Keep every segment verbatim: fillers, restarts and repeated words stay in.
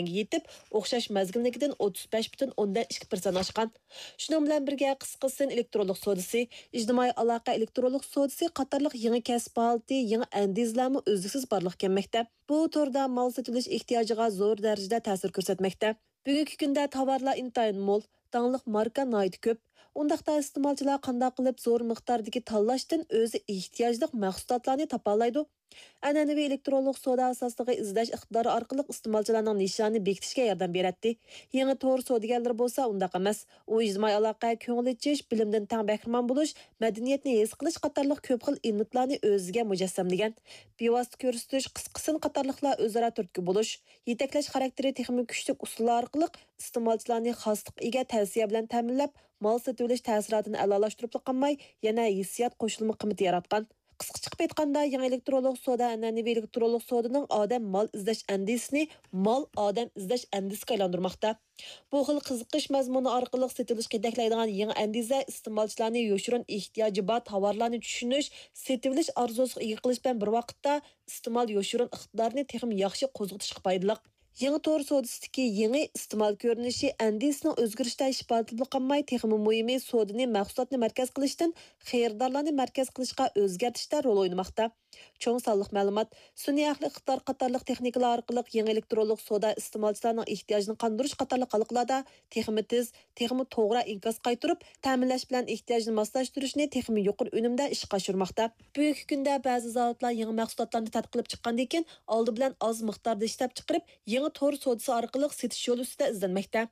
يېتىپ، ئوخشاش مەزگىلنىڭكىدىن ئوتتۇز بەش پۈتۈن ئوندىن ئىككى پىرسەنت ئاشقان. شۇنىڭ بىلەن بىرگە، قىسقا سىن ئېلېكترونلۇق سودىسى، ئىجتىمائىي ئالاقە ئېلېكترونلۇق سودىسى قاتارلىق يېڭى كەسىپ ھالىتى، يېڭى ئەندىزىلەرمۇ ئۈزلۈكسىز بارلىققا كەلمەكتە. بۇ توردا مال سېتىۋېلىش ئېھتىياجىغا زور دەرىجىدە تەسىر كۆرسەتمەكتە. بۈگۈنكى كۈندە تاۋارلار ئىنتايىن مول، داڭلىق ماركا ناھايىتى كۆپ. ئۇنداقتا ئىستېمالچىلار قانداق قىلىپ زور مىقداردىكى تاللاشتىن ئۆزى ئېھتىياجلىق مەھسۇلاتلارنى تاپالايدۇ؟ ئەنئەنىۋى ئېلېكترونلۇق سودا ئاساسلىقى ئىزدەش ئىقتىدارى ئارقىلىق ئىستېمالچىلارنىڭ نىشانىنى بېكىتىشكە ياردەم بېرەتتى. يېڭى تور سودىگەرلىرى بولسا ئۇنداق ئەمەس. ئۇ ئىجتىمائىي ئالاقە، كۆڭۈل ئېچىش، بىلىمدىن تەڭ بەھرىمەن بولۇش، مەدەنىيەتنى ھېس قىلىش قاتارلىق كۆپ خىل ئېلېمېنتلارنى ئۆزىگە مۇجەسسەملىگەن. بىۋاسىتە كۆرسىتىش، قىسقا سىن قاتارلىقلار ئۆزئارا تۈرتكە بولۇش، يېتەكلەش خاراكتېرى تېخىمۇ كۈچلۈك ئۇسۇللار ئارقىلىق ئىستېمالچىلارنى خاسلىققا ئىگە تەۋسىيە بىلەن تەمىنلەپ، مال سېتىۋېلىش تەسىراتىنى ئەلالاشتۇرۇپلا قالماي، يەنە ھېسسىيات قوشۇلما قىممىتى ياراتقان. قىسقىچە قىلىپ ئېيتقاندا، يېڭى ئېلېكترونلۇق سودا ئەنئەنىۋى ئېلېكترونلۇق سودىنىڭ ئادەم مال ئىزدەش ئەندىزىسىنى مال ئادەم ئىزدەش ئەندىزىسىگە ئايلاندۇرماقتا. بۇ خىل قىزىقىش مەزمۇنى ئارقىلىق سېتىۋېلىشقا يېتەكلەيدىغان يېڭى ئەندىزە ئىستېمالچىلارنى يوشۇرۇن ئېھتىياجى بار تاۋارلارنى چۈشىنىش، سېتىۋېلىش ئارزۇسىغا ئىگە قىلىش بىلەن بىر ۋاقىتتا، ئىستېمال يوشۇرۇن ئىقتىدارىنى تېخىمۇ ياخشى قوزغىتىشقا پايدىلىق. يېڭى تور سودىسىدىكى يېڭى ئىستېمال كۆرۈنۈشى ئەندىزىسىنىڭ ئۆزگىرىشىدە ئىپادىلىنىپلا قالماي، تېخىمۇ مۇھىمى، سودىنى مەھسۇلاتنى مەركەز قىلىشتىن خېرىدارلارنى مەركەز قىلىشقا ئۆزگەرتىشتە رول ئوينىماقتا. چوڭ سانلىق مەلۇمات، سۈنئىي ئەقلىي ئىقتىدار قاتارلىق تېخنىكىلار ئارقىلىق يېڭى ئېلېكترونلۇق سودا ئىستېمالچىلارنىڭ ئېھتىياجىنى قاندۇرۇش قاتارلىق ھالقىلاردا تېخىمۇ تېز، تېخىمۇ توغرا ئىنكاس قايتۇرۇپ، تەمىنلەش بىلەن ئېھتىياجنى ماسلاشتۇرۇشنى تېخىمۇ يۇقىرى ئۈنۈمدە ئىشقا ئاشۇرماقتا. بۈگۈنكى كۈندە بەزى زاۋۇتلار يېڭى مەھسۇلاتلارنى تەتقىق قىلىپ چىققاندىن كېيىن، ئالدى بىلەن ئاز مىقداردا ئىشلەپچىقىرىپ، يېڭى تور سودىسى ئارقىلىق سېتىش يولى ئۈستىدە ئىزدەنمەكتە.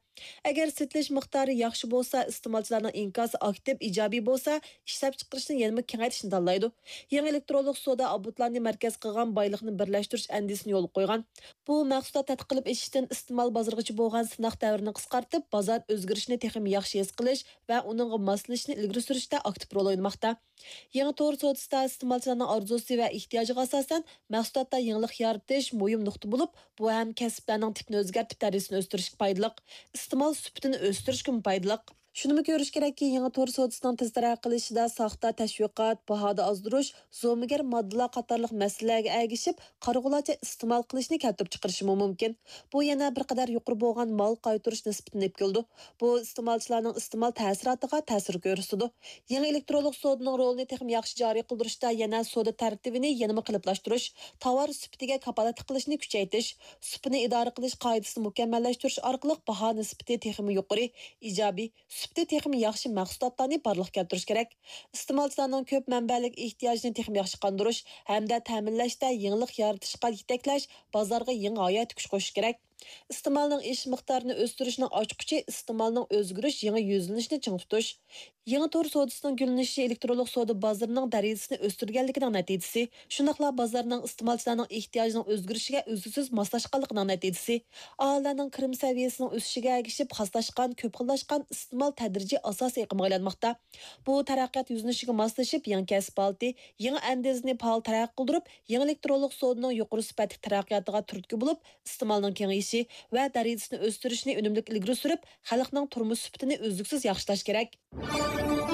ئەگەر سېتىلىش مىقدارى ياخشى بولسا، ئىستېمالچىلارنىڭ ئىنكاسى ئاكتىپ، ئىجابىي بولسا، ئىشلەپچىقىرىشنى يەنىمۇ كېڭەيتىشنى تاللايدۇ. يېڭى ئېلېكترونلۇق سودا ئابونتلارنى مەركەز قىلغان بايلىقنى بىرلەشتۈرۈش ئەندىزىسىنى يولغا قويغان. بۇ مەھسۇلات تەتقىق قىلىپ ئېچىشتىن ئىستېمال بازىرىغىچە بولغان سىناق دەۋرىنى قىسقارتىپ، بازار ئۆزگىرىشىنى تېخىمۇ ياخشى ھېس قىلىش ۋە ئۇنىڭغا ماسلىشىشنى ئىلگىرى سۈرۈشتە ئاكتىپ رول ئوينىماقتا. يېڭى تور سودىسىدا ئىستېمالچىلارنىڭ ئارزۇسى ۋە ئېھتىياجىغا ئاساسەن، مەھسۇلاتتا يېڭىلىق يارىتىش مۇھىم نۇقتا بولۇپ، بۇ ھەم كەسىپلەرنىڭ تىپىنى ئۆزگەرتىپ، دەرىجىسىنى ئۆستۈرۈشكە پايدىلىق، ئىستېمال سۈپىتىنى ئۆستۈرۈشكىمۇ پايدىلىق. شۇنىمۇ كۆرۈش كېرەككى، يېڭى تور سودىسىنىڭ تېز تەرەققىي قىلىشىدا ساختا تەشۋىقات، باھادا ئازدۇرۇش، زومىگەر ماددىلار قاتارلىق مەسىلىلەرگە ئەگىشىپ، قارىغۇلارچە ئىستېمال قىلىشنى كەلتۈرۈپ چىقىرىشىمۇ مۇمكىن. بۇ يەنە بىر قەدەر يۇقىرى بولغان مال قايتۇرۇش نىسبىتىنى ئېلىپ كېلىدۇ. بۇ ئىستېمالچىلارنىڭ ئىستېمال تەسىراتىغا تەسىر كۆرسىتىدۇ. يېڭى ئېلېكترونلۇق سودىنىڭ رولىنى تېخىمۇ ياخشى جارى قىلدۇرۇشتا يەنە سودا تەرتىپىنى يەنىمۇ قېلىپلاشتۇرۇش، تاۋار سۈپىتىگە كاپالەتلىك قىلىشنى كۈچەيتىش، سۈپىتىنى ئىدارە قىلىش قائىدىسىنى مۇكەممەللەشتۈرۈش ئارقىلىق باھا نىسبىتى تېخىمۇ يۇقىرى، ئىجابىي، سۈپىتى تېخىمۇ ياخشى مەھسۇلاتلارنى بارلىققا كەلتۈرۈش كېرەك. ئىستېمالچىلارنىڭ كۆپ مەنبەلىك ئېھتىياجىنى تېخىمۇ ياخشى قاندۇرۇش ھەمدە تەمىنلەشتە يېڭىلىق يارىتىشقا يېتەكلەش، بازارغا يېڭى ھاياتىي كۈچ قوشۇش كېرەك. ئىستېمالنىڭ ئېشىش مىقدارىنى ئۆستۈرۈشنىڭ ئاچقۇچى ئىستېمالنىڭ ئۆزگىرىش يېڭى يۈزلىنىشىنى چىڭ تۇتۇش. يېڭى تور سودىسىنىڭ گۈللىنىشى ئېلېكترونلۇق سودا بازىرىنىڭ دەرىجىسىنى ئۆستۈرگەنلىكىنىڭ نەتىجىسى، شۇنداقلا بازارنىڭ ئىستېمالچىلارنىڭ ئېھتىياجىنىڭ ئۆزگىرىشىگە ئۈزلۈكسىز ماسلاشقانلىقىنىڭ نەتىجىسى. ئاھالىلەرنىڭ كىرىم سەۋىيەسىنىڭ ئۆسۈشىگە ئەگىشىپ خاسلاشقان، كۆپ خىللاشقان ئىستېمال تەدرىجىي ئاساسىي ئېقىمغا ئايلانماقتا. بۇ تەرەققىيات يۈزلىنىشىگە ماسلىشىپ، يېڭى كەسىپ ھالىتى، يېڭى ئەندىزىنى پائال تەرەققىي قىلدۇرۇپ، يېڭى ئېلېكترونلۇق سودىنىڭ يۇقىرى سۈپەتلىك تەرەققىياتىغا تۈرتكە بولۇپ، ئىستېمالنىڭ كېڭىيىشى ۋە دەرىجىسىنى ئۆستۈرۈشنى ئۈنۈملۈك ئىلگىرى سۈرۈپ، خەلقنىڭ تۇرمۇش سۈپىتىنى ئۈزلۈكسىز ياخشىلاش كېرەك.